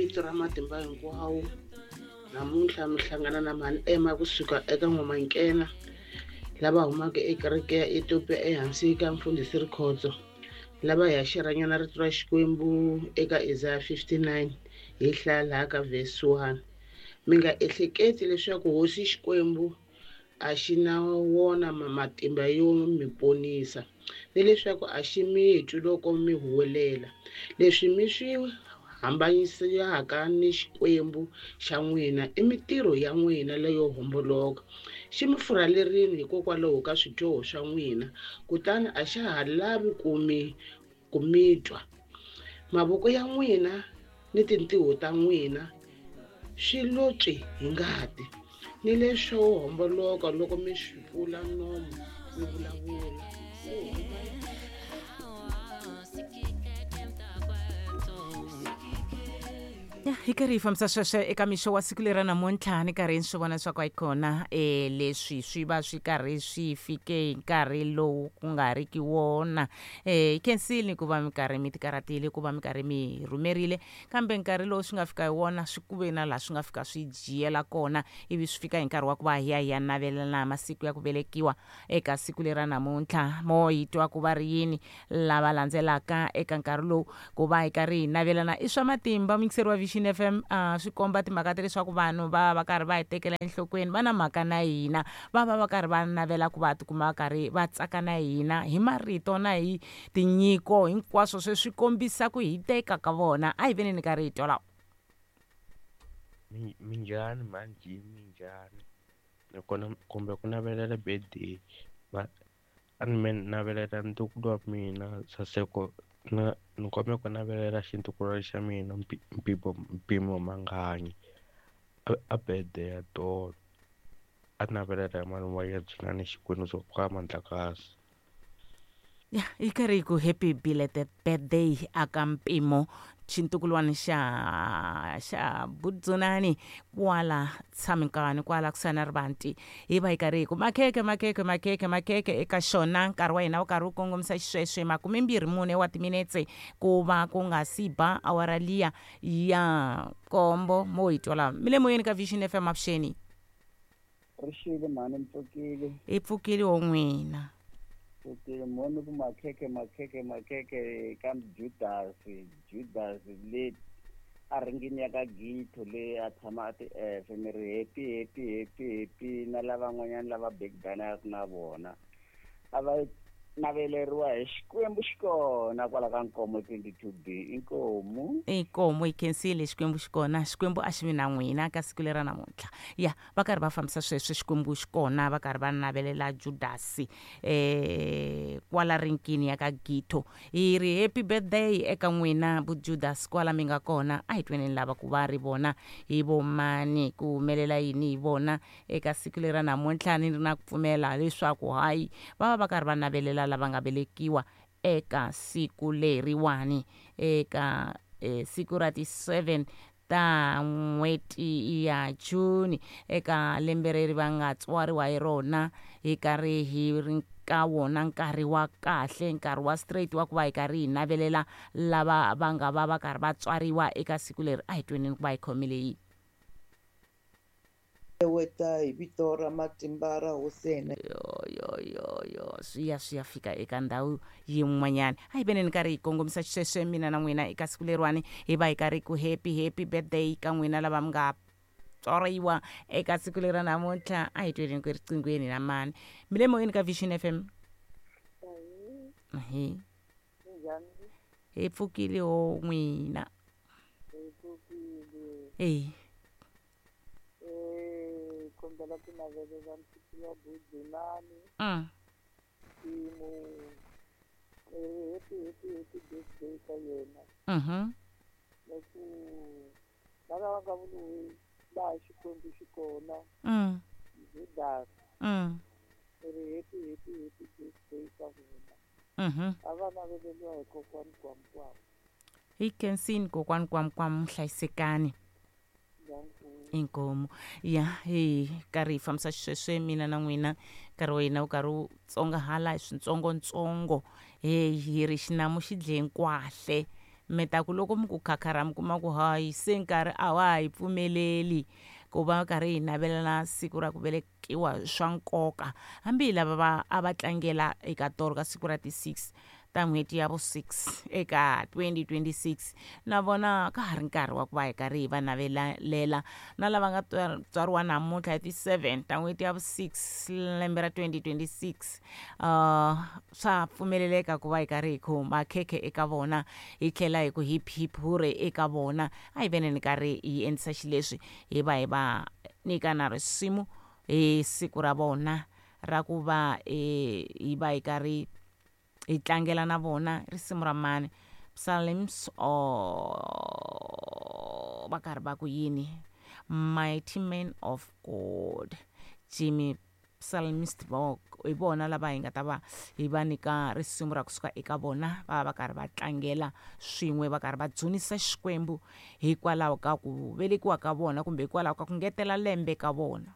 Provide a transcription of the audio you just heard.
vito ra matimba hinkwawo. Namuntlha mi hlangana na mhani Emma kusuka eka N'wamankena lava humaka ekereke ya Ethiopia ehansi ka mfundhisi Rikhotso lava hi ya xeranyana rito ra Xikwembu eka Isaiah 59 hi hlaya laha ka verse 1. Mi nga ehleketi leswaku hosi Xikwembu a xi na wona matimba yo mi ponisa ni leswaku a xi mi twi loko mi huwelela. Leswi mi swi hambanyisaka ni Xikwembu xa n'wina i mitirho ya n'wina leyo homboloka. Xi mi furhalerile hikokwalaho ka swidyoho swa n'wina, kutani a xa ha lavi ku mi twa. Mavoko ya n'wina ni tintiho ta n'wina swi lo tswi hi ngati, ni leswo homboloka loko mi swi pfula nomu mi vulavula. Ya hi karhi hi fambisa sweswo eka mixo wa siku leri ra namuntlha ni karhi ni swi vona leswaku a yi kona leswi swi va swi karhi swi fike hi nkarhi lowu ku nga riki wona. Hi khensile ku va mi karhi mi tikarhatile ku va mi karhi mi rhumerile, kambe nkarhi lowu swi nga fika hi wona swi ku ve na laha swi nga fika swi jiyela kona, ivi swi fika hi nkarhi wa ku va hi ya hi ya navelana masiku ya ku velekiwa eka siku leri ra namuntlha. Mo hi twa ku va ri yini lava landzelaka eka nkarhi lowu ku va hi karhi hi navelana i swa matimba. Muyingiseri wa Vision FM, swi komba timhaka ta leswaku vanhu va va karhi va hi tekela enhlokweni, va na mhaka na hina, va va va karhi va navela ku va tikuma va karhi va tsaka na hina hi marito na hi tinyiko hinkwaswo. Sweswi swi kombisa ku hiteka ka vona. A hi veni ni karhi hi twa lawa. Minjhani mhani, minjhani? Nakona kumbe ku navelela birthday a ni me navelela ntukulu wa mina Saseko, na ni kombela ku navelela xintukulwana xa mina Mpimo Manganyi a birthday ya tolo. A navelela hi malume wa yena Dzunani Xikwembu swo ka Mandlakazi. Ya yi karhi yi ku happy belated birthday aka Mpimo xintukulwana xa Budzunani kwala Tshamikani kwala kusuhani na Rivanti. Hi va hi karhi hi ku makhekhe makhekhe makhekhe makhekhe eka xona. Nkarhi wa hina wu karhi wu kongomisa xisweswe 24 wa timinetse ku va ku nga si ba awara liya ya nkombo. Mo hi twa laha mi le moyeni ka Vision FM. Avuxeni. Rixile mhani, mi pfukile? Hi pfukile wo n'wina. Pfukile mhani. Ku makhekhe makhekhe makhekhe ka Judas, Judas le a ringini ya ka Githo le a tshama a ti efe. Mi ri happy happy happy happy na lavan'wanyana lava bekidanaka na vona a va naveleriwa hi Xikwembu xikona kwala ka Nkomo 22B. Inkomu. Inkomu, hi khensile. Xikwembu xikona, Xikwembu a xi vi na n'wina ka siku leri ra namuntlha. Ya va karhi va fambisa sweswo, Xikwembu xikona, va karhi va navelela Judasi kwala rinkini ya ka Githo. Hi ri happy birthday eka n'wina bu Judas kwala mi nga kona. A hi tweneni lava ku va ri vona hi vomani, ku humelela yini hi vona eka siku leri ra namuntlha. Ni ri na ku pfumela leswaku hayi va va va karhi va navelela lava nga velekiwa eka siku leriwani, eka siku ra ti 7 ta n'hweti ya June eka lembe leri va nga tswariwa hi rona. Hi karhi hi ri ka wona nkarhi wa kahle, nkarhi wa straight wa ku va hi karhi hi navelela lava va nga va va karhi va tswariwa eka siku leri. A hi tweneni ku va hi khomile yini. Weta hi vito ra matimba ra hosi hina. Yo yo yo yo, swi ya swi ya fika eka ndhawu yin'wanyana. A hi veneni karhi hi kongomisa xisweswe mina na n'wina eka siku leriwani, hi va hi karhi ku happy happy birthday ka n'wina lava mi nga tswariwa eka siku leri ra namuntlha. A hi tweni ku riqinghweni na mani. Mi le moyeni ka Vision FM. Hi hi pfukile ho n'wina. Eh kombela ku navelela ntukulu wa Budzunani Mpimo, happy happy happy birthday ka yena. Na ku na lava nga vuriwi laha Xikwembu xi kona Judas, ri happy happy happy birthday ka vona. A va naveleliwa hi kokwani Kwamkwam. Hi khensini kokwani Kwamkwam, hlayisekani. Inkomu. Ya hi karhi hi fambisa xisweswe mina na n'wina, nkarhi wa hina wu karhi wu tsongahala hi swintsongontsongo. He hi ri xinamu xi dle nkwahle. Mi ta ku loko mi ku khakhara mi kuma ku hayi se nkarhi a wa ha hi pfumeleli ku va karhi hi navelana siku ra ku velekiwa swa nkoka. Hambi hi lava va a va tlangela eka tolo ka siku ra ti-6 ta n'hweti ya vu-6 eka 2026, na vona ka ha ri nkarhi wa ku va hi karhi hi va navelela. Na lava nga tswariwa namuntlha hi ti-7 ta n'hweti ya vu-6 lembe ra 2026, swa pfumeleleka ku va hi karhi hi khoma khekhe eka vona, hi tlhela hi ku hip hip hure eka vona. A hi veneni karhi hi endlisa xileswi, hi va hi va nyika na risimu hi siku ra vona ra ku va hi va hi karhi hi tlangela na vona. Risimu ra mani? Psalms or va karhi va ku yini? Mighty Man of God, Jimmy Psalmist hi vona lava hi nga ta va hi va nyika risimu ra kusuka eka vona. Va va karhi va tlangela swin'we, va karhi va dzunisa Xikwembu hikwalaho ka ku velekiwa ka vona kumbe hikwalaho ka ku ngetela lembe ka vona.